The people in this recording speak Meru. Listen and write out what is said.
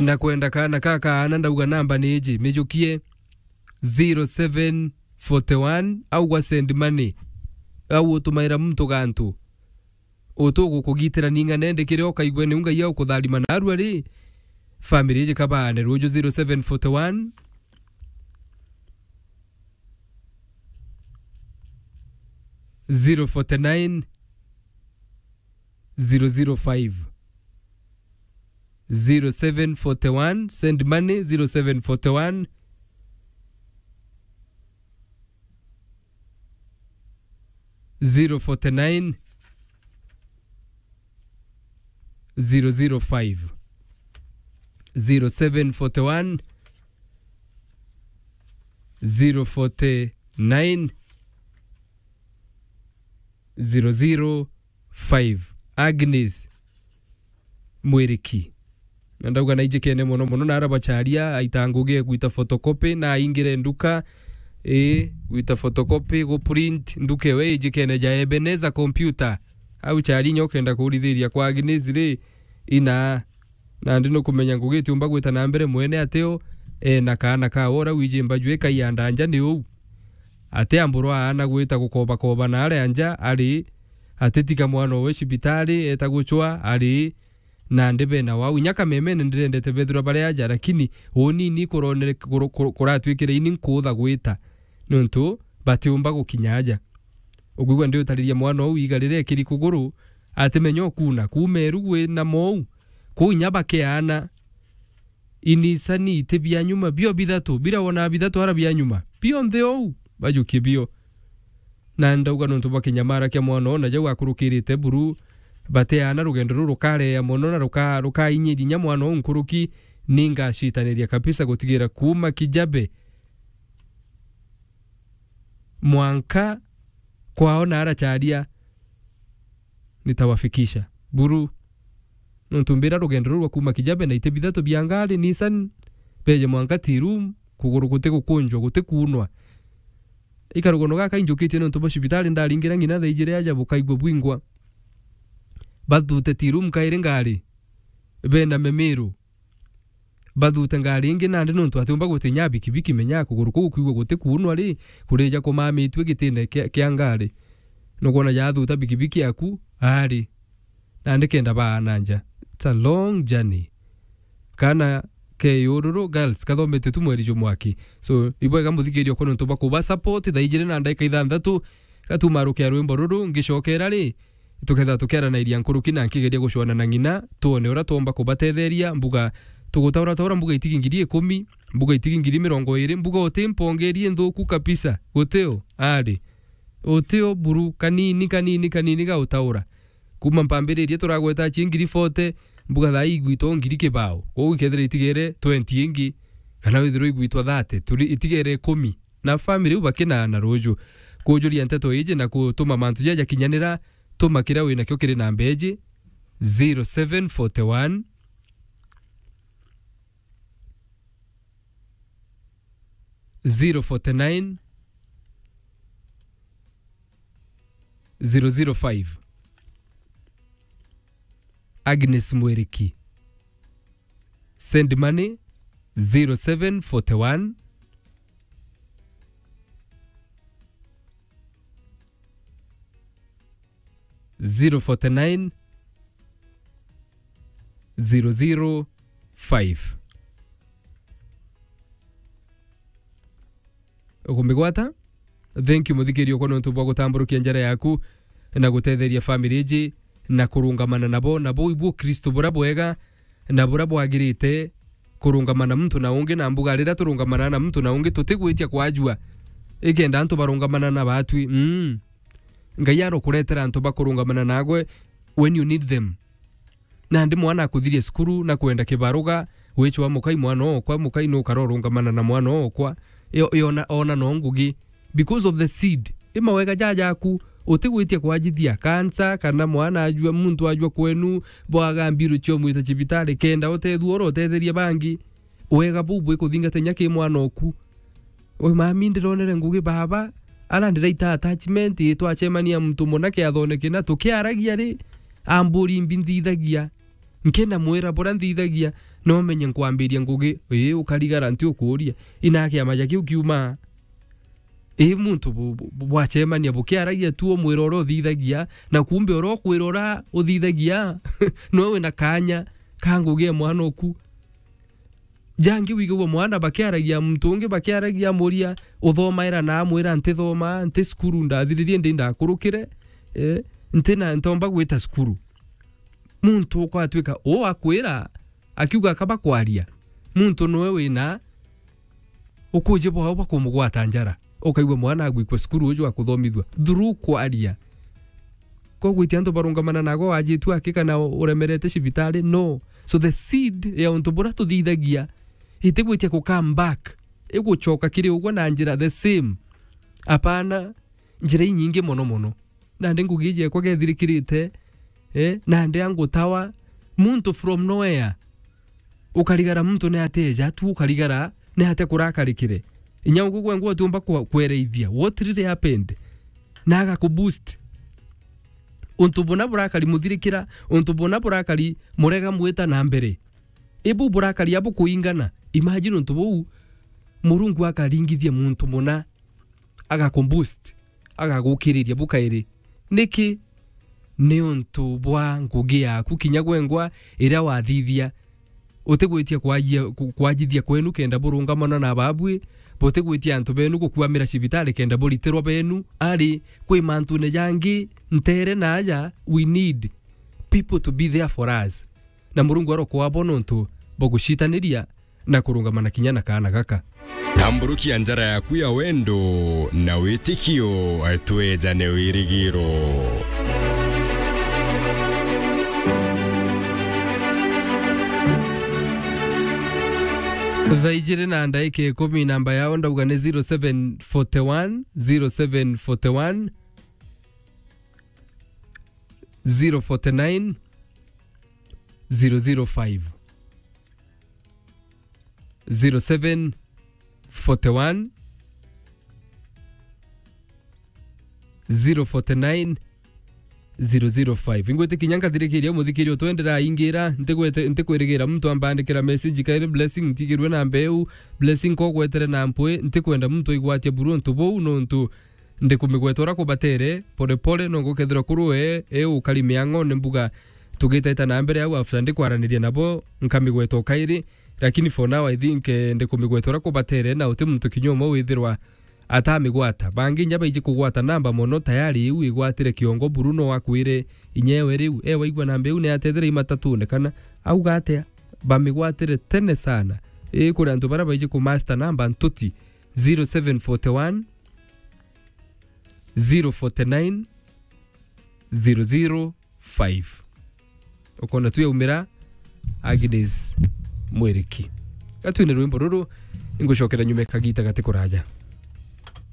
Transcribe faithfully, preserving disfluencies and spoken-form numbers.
Na kwenda kaana ka kaana, ndauga namba ni iji, mijukie zero seven forty one, au gwa send money, au utumaira muntu gantu, utu gukugitira ning'ane, ndikire ukaigwe ni ungai au kutharima narua ri, family iji kabaane ruju zero seven forty one, zero forty nine, zero zero five. Zero seven forty one, send money, zero seven forty one, zero forty nine, zero zero five. Zero seven forty one, zero forty nine, zero zero five. Agnes Mwiriki. Na ndauga naijikene mono mono, na ara bacharia aita ngugi e gwita photocopy, na aingire nduka, ii, gwita photocopy, gu print, nduka ewe ijikene ja Ebenezer Computer. Au chari inya ukenda kurithiria kwa Agnes ri, ina, nandi nukumenya ngugi itiumba gwita na mbere mwene ateo, e, na kaana kawe ura wiji mbaju ikaianda nja ni uu. Ati amburwa aana gwita gukobakoba na aria nja ari, atitika mwana owe cibitari, eta gucwa ari, nandi bena wau. Inya kamemene ndirendete bethirwa bari aja, lakini unini kuronere-, kuru-, kuru-, kuratwikire ini nkuutha gwita, niuntu batiumba gukinya aja. Ukwigua ndiutariria mwana uu iga riria ekiri kuguru, atimenya ukuna, kuuma eru gwi na mou, kuu inya bakeana. Inisani iti bia nyuma, bio bithatu, bira wona bithatu ara bia nyuma, bionthe ou, bajukie bio. Na ndauga nontu bwa kinyamara kia mwana ona jau akurukirite buru, bateana rugendo ruru rukareea mono na ruka-, rukainyiria inya mwana ou nkuruki, ningacitaniria kabisa gutigira kuuma Kijabe mwanka kwao na aracharia nitawafikisha. Buru, nontu mbira rugendo ruru rwa kuuma Kijabe na iti bithatu bia ngari, Nissan, beje mwanka Tea Room, kuguru guti gukunjwa, guti kuunwa. Ikarugono gaka injukitie nontu bwa cibitari ndaringira ng'ina thaa ijiri aja bukaigua bwingwa. Bathute Tea Room kairi ngari, bena Memiru. Bathute ngari ingi nandi nontu atiumba gutinya bikibiki, menya kuguru kuu kwigua guti kuunwa ri, kurija kumamitue gitine kia, kia ngari. Nukwona jathuta bikibiki yaku, ari. Nandi kenda baana nja. It's a long journey. Kana ke yururu, girls, kathomete tu mweri jumwaki. So, ibwega muthikiria kwa nontu bwa kuba support, thaa ijiri na ndagika ithanthatu, gatumarukia rwimbo ruru, ngicokera ri, tukethira tukiaranairia nkuruki na nkigeria gucwana na ng'ina, twone uria twomba kubatetheria, mbuga tugutaurataura mbuga itigi ngiri ikumi, mbuga itigi ngiri mirongo iri, mbuga uti mpongerie nthuku kabisa, gutio, ari. Utio buru, kanini, kanini, kanini gautaura. Kuuma mpambiririe turagweta chi ngiri forty, mbuga thaa ii igwitwa ngiri kibao. Kwou ikethira itigere twenty ingi, kana withirwe igwitwa thirty, turi itigere ikumi. Na family iu bakina na ruju. Kujuria nteto iji na kutuma mantu jaja jakinyanira, tuma kiria winakio kiri namba iji, zero seven forty one, zero forty nine, zero zero five. Agnes Mwiriki. Send money, zero seven forty one, zero forty nine, zero zero five. Ukumigwata? Thank you, muthikiria okwa, nontu bwa gutamburukia njara yaku na gutetheria family iji na kurungamana nabo. Nabo ibu Kristo bura bwega na bura bwagirite, kurungamana muntu na ungi, na mbuga riria turungamana na muntu na ungi tutigwitia kwajua. Ikenda antu barungamana na batwi. Mm. Ngai arokuretera antu bakurungamana nagwe when you need them. Nandi mwana akuthirie cukuru na kwenda kibaruga, wichwa mukai mwana okwa, mukai nukara urungamana na mwana okwa. Yo-, yona, ona no ngugi. Because of the seed. I mawega jajaku, utigwitia kwajithia cancer, kana mwana ajua, muntu ajua kwenu, bwaga mbiru cio mwita cibitari, kenda utethua oro utetheria bangi. Wega buu bwikuthingata inya ki mwana oku. We mami, ndironere ngugi baba, ara ndiraita attachment, ii twacemania muntu muna kiathone kina tukiaragia ri, amburi mbi nthithagia. Nkina mwira bura nthithagia, No menye nkwambiria ngugi, ii, ukarigara nti ukuuria. Ina kiama ja kiu kiuma. Ii, muntu bu-, bu-, bu-, bwacemania bukiaragia tu, umwira uria uthithagia, na kumbe uria ukwira uria uthithagia, no wina kanya ka ngugi ya mwana oku. Jangi wigagua mwana bakiaragia, muntu ungi bakiaragia, amuria, "Uthomaira na?" Amwira, "Ntithoma, nti cukuru, ndathiririe ndi ndakurukire, eh, nti na, ntomba gwita cukuru." Muntu ukwatwika uu akwira, akiuga kaba kwaria, muntu noe wina ukuji bwao bwa kumugwata njara. Ukaigua mwana agwikua cukuru uju akuthomithua through kwaria. Ko gwitia antu barungamana nago wajitu aki kana uremerete cibitari? No. So the seed ya untu buria tuthithagia itigwitia ku come back, igucoka kiri ugwe na njira the same. Apana, njira inyingi mono mono. Nandi ngugi iji ekwa gethirikirite, eh, nandi angutawa, muntu from nowhere. Ukarigara muntu ni ateja tu, ukarigara ni ate kurakarikire. Inya ugwe gwe ngwa utiumba kwa-, kwereithia what really happened. Na agakuboost. Untu buna burakari muthirikira, untu buna burakari murega mwita na mbere. Ibu burakari abu kuingana. Imagine untu buu Murungu akaringithia muntu muna, agakuboost, agagukiriria bukairi. Niki? Ni untu bwa ngugi yaku kinya gwengwa iria wathithia. Utigwitia kwajia-, ku-, kwajithia kwenu kenda burungamana na babui, butigwitia antu benu gukwamira cibitari kenda buritirwa benu, ari kwi mantune jangi ntere na aja, we need people to be there for us. Na Murungu arokwabo nontu bwa gucitaniria na kurungamana kinya na kaana gaka. Tamburukia njara yaku ya wendo na witikio, twejane wirigiro. Thaa ijiri na ndaika ikumi, namba yao ndauga ni zero seven forty one, zero seven forty one, zero forty nine, zero zero five. Zero seven forty one, zero forty nine, zero zero five. Ingwitikinya nkathirikiria muthikiri utwendera ingira, ntigwete-, ntikwirigira muntu ambandikira message kairi, Blessing, ntigirwe na mbeu, Blessing, kogwetere na mpwi, ntikwenda muntu igwatia buru untu buu, nontu ndikumigweta uria kubatere, pore pore, no ngukethirwa kuru we, e ukari miang'one mbuga, tugitaita na mbere au, after ndikwaraniria nabo, nkamigweta o kairi, lakini for now, I think, eh, ndikumigweta uria kubatere, na uti muntu kinya umwe withirwa atamigwata. Bangi inya baiji kugwata namba mono, tayari iu igwatire kiongo buru, no akwire inya ewe riu, e waigua namba iu ni atethire imatatune kana auga atia, bamigwatire tene sana. Ii, kuri antu baria baiji kumaster namba ntuti, zero seven forty one, zero forty nine, zero zero five. Ukona tu yaumira Agnes Mwiriki. Gatwine rwimbo ruru, ingucokera nyuma kagita gati kuraja.